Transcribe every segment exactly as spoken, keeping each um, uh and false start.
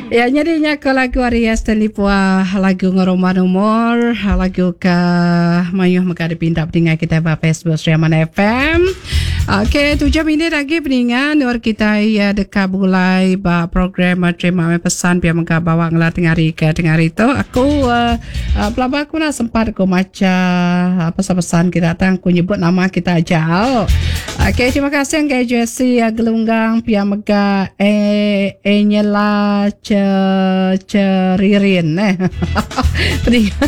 Ya, nyadi nya ke lagu ari Stanley Pua, lagu Ngerumban Umur, lagu ke mayuh mega dipinta peninga kita ba Facebook Sri Aman F M. Okey, tujuh minit lagi peninga nur kita ya deka begulai ba program terima mai pesan pia mega bawa ngela tengah hari ke tengah hari tu. Aku uh, uh, pelaba aku nak sempat aku maca uh, pesan-pesan kita tang aku nyebut nama kita aja. Okey, terima kasih ke Jesse Gelunggang pia mega e Enyela ce Ceririn eh. Peninga.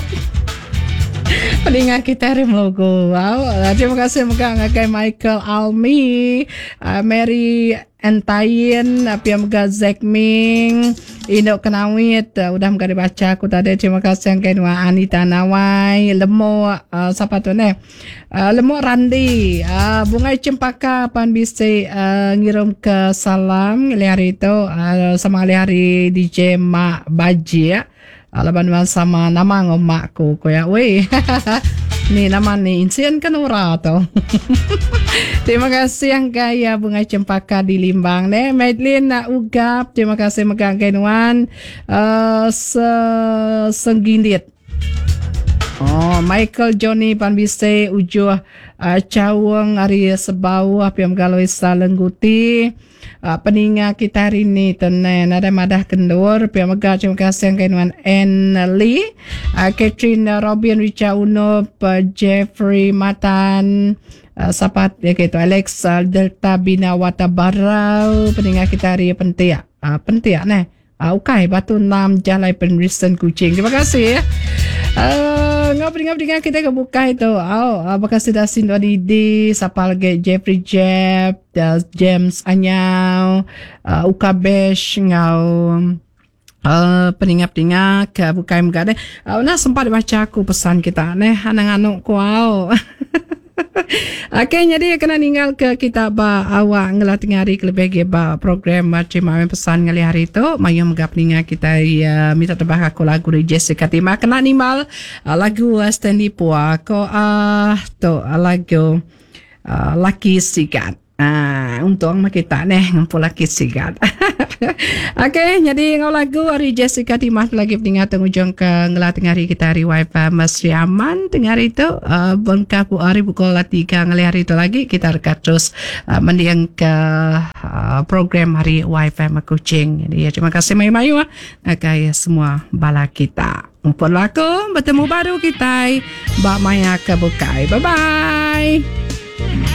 Peninga kita hari melogo. Wow. Terima kasih mega ngagai Michael Almi, uh, Mary Entayin, pia mega Zack Ming, Indok Kenawit, uh, udah mega dibaca aku tadi. Terima kasih ngagai Nuan Anita Nawai, Lemo uh, siapa tu ne? Uh, Lemo Randi, uh, Bungai Cempaka pan bisi uh, ngirum ke salam ngelih hari tu uh, sama ngelih hari D J Mak Baji ya. Uh, laban nuan sama nama ngau mak ku ko ya. Wei. Ni nama ni insien kan ura tu. Terima kasih yang gaya Bungai Cempaka di Limbang ne. Madeline nak ugap, terima kasih megang kenuan uh, se senggindit. Oh, Michael Johnny Panbise ujuh uh, cawang ari sebawah piam galoi salengguti. Uh, peninga kita hari ni tenen ada madah kendur pia mega terima kasih yang kenuan Ann Lee, uh, Catherine Robin Richard Uno, uh, Jeffrey Matan, uh, sapat ya gitu Alex uh, Delta Bina Wata Barau peninga kita hari pentiak uh, pentiak neh uh, ukai Batu Enam Jalai Penrisen Kuching. Terima kasih ya. Uh, ngau peninga-peninga kita ke buka itu. Oh, apakah sudah sindo Didi, siapa lagi Jeffrey Jeff, uh, James Anyau, uh, Ukabesh ngau uh, peninga-peninga ke buka mega deh. Uh, nah sempat baca aku pesan kita neh anang-anuk ku au. Okey, jadi kena ninggal ke kita ba awak ngelah tengah hari kelebih ge ba program terima pesan ngalih hari tu. Mayu mega peninga kita ya, minta tebah aku lagu dari Jessica Timah kena nimbal uh, lagu uh, Stanley Pua ko ah uh, tu uh, lagu uh, Laki Sigat. Ah, untung mah kita neh ngumpul laki sigat. Okey, jadi ngau lagu hari Jessica Timah lagi peningat tengujung ke ngelah tengah hari kita hari wifi Mas Sri Aman tengah hari tu uh, bengkah bu hari pukul tiga ngelih hari tu lagi kita rekat terus uh, mendiang ke uh, program hari wifi Kuching. Jadi ya, terima kasih mayu-mayu ah ngagai semua bala kita. Ngumpul laku bertemu baru kita bak maya ke bukai. Bye bye.